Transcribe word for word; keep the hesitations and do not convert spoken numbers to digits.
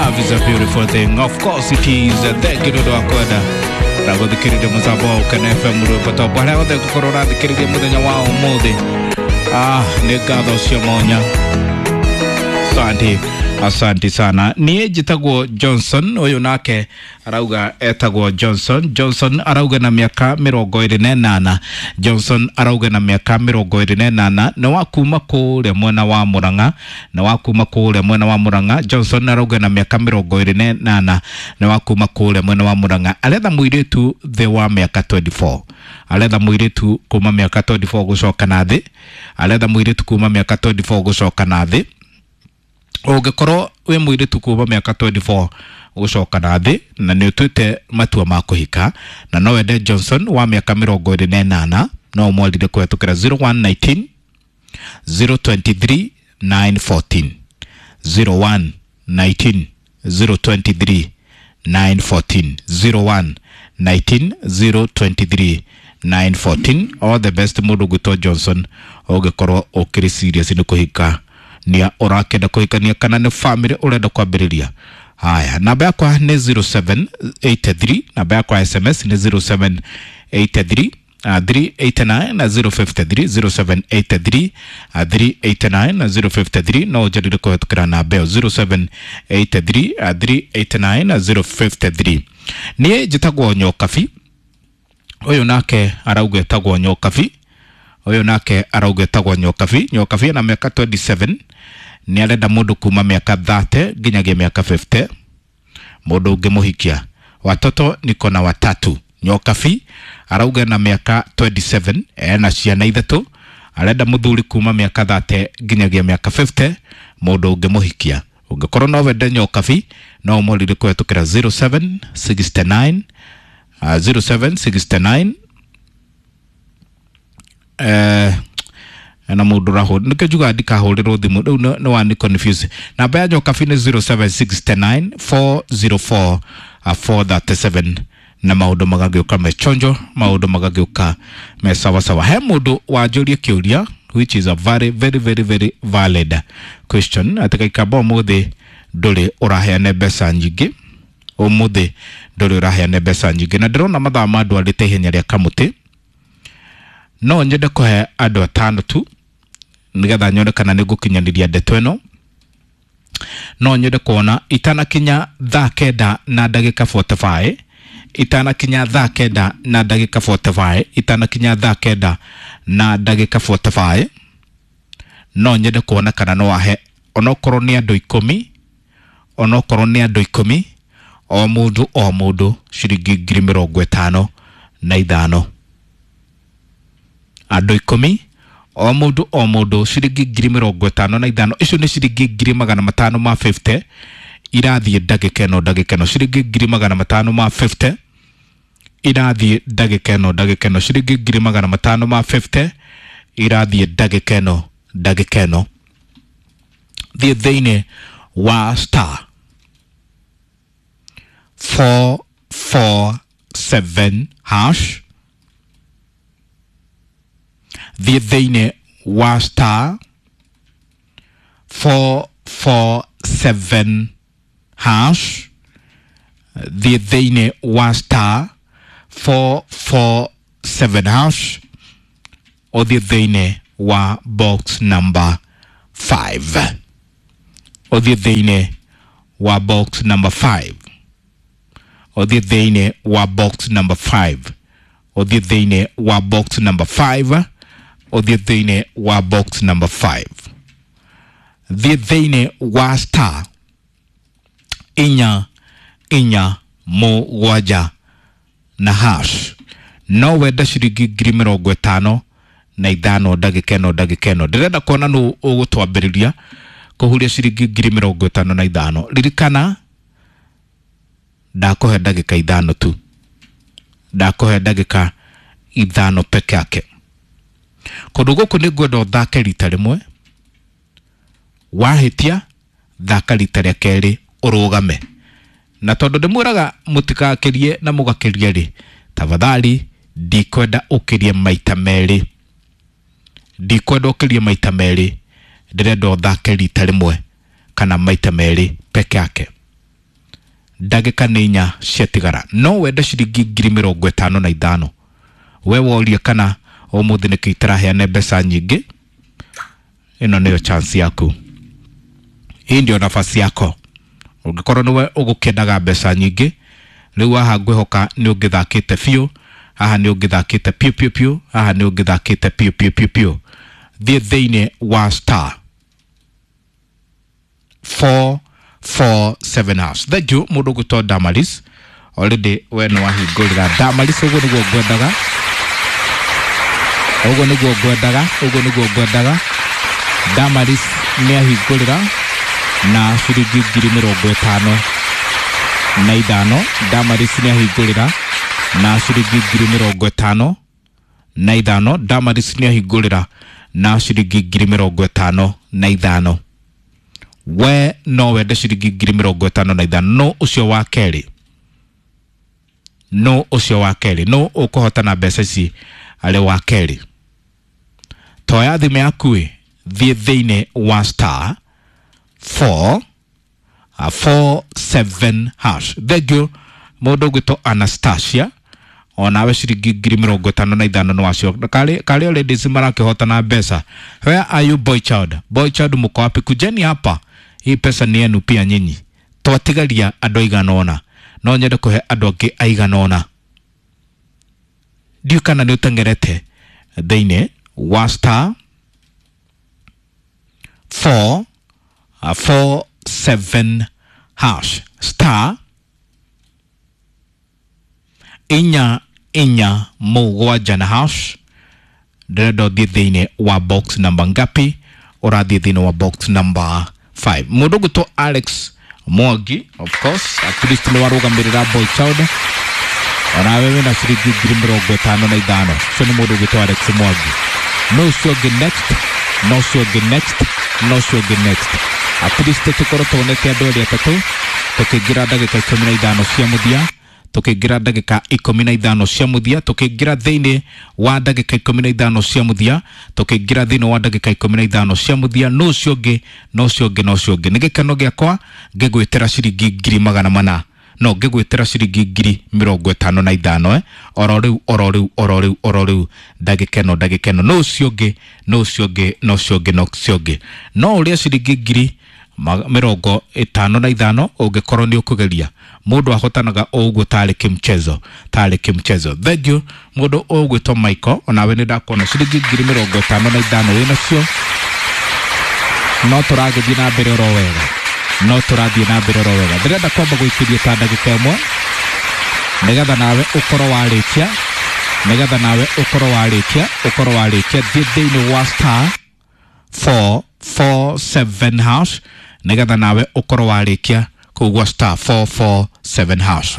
Love is a beautiful thing. Of course it is. Thank you nĩ ũndũ wa kwenda na gũthikĩrĩria mũtambo wa Ũkene F M rwĩmbo top harĩa hothe ngũkorwo ũrathikĩrĩria mũthenya wa ũmũthĩ. Ah, nĩ ngatho cia mwanya. Asante, asante sana. Niĩ njĩtagwo Johnson, ũyũ nake arauga etagwo Johnson. Johnson arauga na mĩaka mĩrongo ĩrĩ na ĩnana. Johnson arauga na mĩaka mĩrongo ĩrĩ na ĩnana, nĩ wa kuma kũrĩa mwena wa Murang'a, nĩ wa kuma kũrĩa mwena wa Murang'a. Johnson arauga na mĩaka mĩrongo ĩrĩ na ĩnana, nĩ wa kuma kũrĩa mwena wa Murang'a. Aretha mũirĩtu thĩ wa mĩaka twenty-four. Aretha mũirĩtu kuma mĩaka twenty-four gũcoka na thĩ. Aretha mũirĩtu kuma mĩaka twenty-four gũcoka na thĩ. Ũngĩkorwo wĩ mũirĩtu kuma mĩaka twenty-four gũcoka na thĩ na nĩ ũtuĩte matua ma kũhika na no wende Johnson wa mĩaka mĩrongo ĩrĩ na ĩnana, no ũmwarire kũhetũkĩra zero one nineteen zero twenty-three nine fourteen. zero one nineteen zero twenty-three nine fourteen. zero one nineteen zero twenty-three nine fourteen. All the best mũndũ ũgwĩtwo Johnson ũngĩkorwo ũkĩrĩ serious nĩ kũhika nia ũrakenda kũhikania kana nĩ family ũrenda kwambĩrĩria. Haya, namba yakwa nĩ zero seven eight three, namba yakwa S M S nĩ zero seven eight three, uh, three eight nine na zero five three, zero seven eight three, uh, three eight nine na zero five three. No ũnjarĩrie kũhetũkĩra namba ĩyo zero seven eight three, uh, three eight nine na zero five three. Niĩ njĩtagwo Nyokabi, ũyũ nake arauga etagwo Nyokabi, ũyũ nake arauga etagwo Nyokabi. Nyokabi ena mĩaka twenty-seven, nĩ arenda mũndũ kuma mĩaka thirty nginyagia mĩaka fifty, mũndũ ũngĩmũhikia. Watoto niko na watatu. Nyokabi arauga na mĩaka twenty-seven, ena ciana ithatũ, arenda mũthuri kuma mĩaka thirty nginyagia mĩaka fifty, mũndũ ũngĩmũhikia. Ũngĩkorwo no wende Nyokabi, no ũmũrire kũhetũkĩra zero seven sixty-nine, uh, zero seven sixty-nine, eh, na mũndũ ũrahũra nĩkĩo njugaga ndikahũrĩrwo thimũ rĩu nĩ, nĩ wani confuse. Namba ya Nyokabi nĩ zero seven sixty-nine four zero four, uh, four thirty-seven, na maũndũ magagĩũka me chonjo, maũndũ magagĩũka me sawasawa. He mũndũ wanjũria kĩũria which is a very very very very valid question, atĩ Gĩikamba ũmũthĩ ndũrĩ ũraheana mbeca nyingĩ, ũmũthĩ ndũrĩ ũraheana mbeca nyingĩ, na ndĩrona mathaa ma andũ arĩte ihenya rĩa kamũtĩ. No nyende kũhe andũ atano tu nĩgetha nyone kana nĩ ngũkinyanĩria ndeto ĩno. No nyende kuona itanakinya thaa kenda na ndagĩka forty-five, itanakinya thaa kenda na ndagĩka forty-five, itanakinya thaa kenda na ndagĩka forty-five, no nyende kuona kana no ahe onokorwo nĩ andũ ikũmi, onokorwo nĩ andũ ikũmi, o mũndũ o mũndũ ciringi ngiri mĩrongo ĩtano na ithano. Andũ ikũmi o mũndũ o mũndũ ciringi ngiri mĩrongo ĩtano na ithano. Icio nĩ ciringi ngiri magana matano ma fifty irathiĩ ndagĩka ĩno ndagĩka ĩno, ciringi ngiri magana matano ma fifty irathiĩ ndagĩka ĩno ndagĩka ĩno, ciringi ngiri magana matano ma fifty irathiĩ ndagĩka ĩno ndagĩka ĩno. Thiĩ thĩinĩ wa star four four seven hash, thiĩ thĩinĩ wa star four four seven hash, thiĩ thĩinĩ wa star four four seven hash, ũthiĩ thĩinĩ wa box number five, ũthiĩ thĩinĩ wa box number five, ũthiĩ thĩinĩ wa box number five, ũthiĩ thĩinĩ wa box number five, ũthiĩ thĩinĩ wa box number five, thiĩ thĩinĩ wa star inya inya mũgwanja na hash. No wende ciringi ngiri mĩrongo ĩtano na ithano ndagĩka ĩno ndagĩka ĩno. Ndĩrenda kuona nũ ũgũtwambĩrĩria kũhuria ciringi ngiri mĩrongo ĩtano na ithano. Ririkana ndakũhe ndagĩka ithano tu, ndakũhe ndagĩka ithano peke yake. Kũndũ gũkũ nĩ ngwenda ũthake rita rĩmwe, wahĩtia thaka rita rĩa kerĩ ũrũgame. Na tondũ ndĩmwĩraga mũtikakĩrie na mũgakĩrie rĩ, tafadhali ndikwenda ũkĩrie maita merĩ, ndikwenda ũkĩrie maita merĩ, ndĩrenda ũthake rita rĩmwe kana maita merĩ peke yake. Ndagĩka nĩ inya ciatigara, no wende ciringi ngiri mĩrongo ĩtano na ithano. We worie kana ũmũthĩ nĩkĩ itaraheana mbeca nyingĩ, ĩno nĩyo chance yaku, hii ndio nafasi yako. Ũngĩkorwo nĩwe ũgũkĩendaga mbeca nyingĩ rĩu, haha ngwĩhoka nĩ ũngĩthakĩte biũ, haha nĩ ũngĩthakĩte piũ piũ piũ, haha nĩ ũngĩthakĩte piũ piũ piũ piũ. Thiĩ thĩinĩ wa star four four seven hash. Thank you mũndũ ũgwĩtwo Damaris, already we nĩ wahingũrĩra Damaris. Ũguo nĩguo ngwendaga, ũguo nĩguo ngwendaga, ũguo nĩguo ngwendaga. Damaris nĩ ahingũrĩra na ciringi ngiri mĩrongo ĩtano na ithano. Damaris nĩ ahingũrĩra na ciringi ngiri mĩrongo ĩtano na ithano. Damaris nĩ ahingũrĩra na ciringi ngiri mĩrongo ĩtano na ithano. We no wende ciringi ngiri mĩrongo ĩtano na ithano? No ũcio wa kerĩ, no ũcio wa kerĩ, no ũkũhotana mbeca ici arĩ wa kerĩ. Toya thimũ yaku ĩ, thiĩ thĩinĩ wa star four four seven hash. Thank you mũndũ ũgwĩtwo Anastasia, onawe ciringi ngiri mĩrongo ĩtano na ithano nĩ wacio. Karĩ karĩ ladies marakĩhotana mbeca. Where are you, boy child? Boy child, mko wapi? Kujeni hapa, hii pesa ni yenu pia nyinyi. Twatigaria andũ aigana ũna, no nyende kũhe andũ angĩ aigana ũna. Ndiũ kana nĩ ũteng'erete thĩinĩ wa star four four seven hash, star inya inya mũgwanja na hash. Ndĩrenda ũthiĩ thĩinĩ wa box number ngapi? Ũrathiĩ thĩinĩ wa box number five. Mũndũ ũgwĩtwo Alex Mwangi, of course at least nĩ warũgamĩrĩra boy child, onawe wĩna ciringi ngiri mĩrongo ĩtano na ithano. Ũcio nĩ mũndũ ũgwĩtwo Alex Mwangi. No ũcio ũngĩ next, no ũcio ũngĩ next, no ũcio ũngĩ next. At least tũkorwo tuonete andũ erĩ atatũ tũkĩingĩra ndagĩka ikũmi na ithano cia mũthia, tũkĩingĩra ndagĩka ikũmi na ithano cia mũthia, tũkĩingĩra thĩinĩ wa ndagĩka ikũmi na ithano cia mũthia, tũkĩingĩra thĩinĩ wa ndagĩka ikũmi na ithano cia mũthia. No ũcio ũngĩ, no ũcio ũngĩ, no ũcio ũngĩ. Nĩ gĩkeno gĩakwa ngĩgwĩtĩra ciringi ngiri magana mana, no ngĩgwĩtĩra ciringi ngiri mĩrongo ĩtano na ithano, eh? Oro rĩu, oro rĩu, oro rĩu, oro rĩu, ndagĩka ĩno, ndagĩka ĩno. No ũcio ũngĩ, no ũcio ũngĩ, no ũcio ũngĩ, no ũcio ũngĩ. No ũrĩa ciringi ngiri mĩrongo ĩtano na ithano ũngĩkorwo nĩ ũkũgeria. Mũndũ ahotanaga o ũguo tarĩ kĩmchezo, tarĩ kĩmchezo. Thank you mũndũ ũgwĩtwo Michael, onawe nĩ ndakuona ciringi ngiri mĩrongo ĩtano na ithano wĩnacio. No tũragĩthiĩ na mbere oro wega, no tũrathiĩ na mbere oro wega. Ndĩrenda kwamba gũikĩria ta ndagĩka ĩmwe nĩgetha nawe ũkorwo warĩkia, nĩgetha nawe ũkorwo warĩkia, ũkorwo warĩkia. Thiĩ thĩinĩ wa star four four seven hash nĩgetha nawe ũkorwo warĩkia kũu gwa star four four seven hash.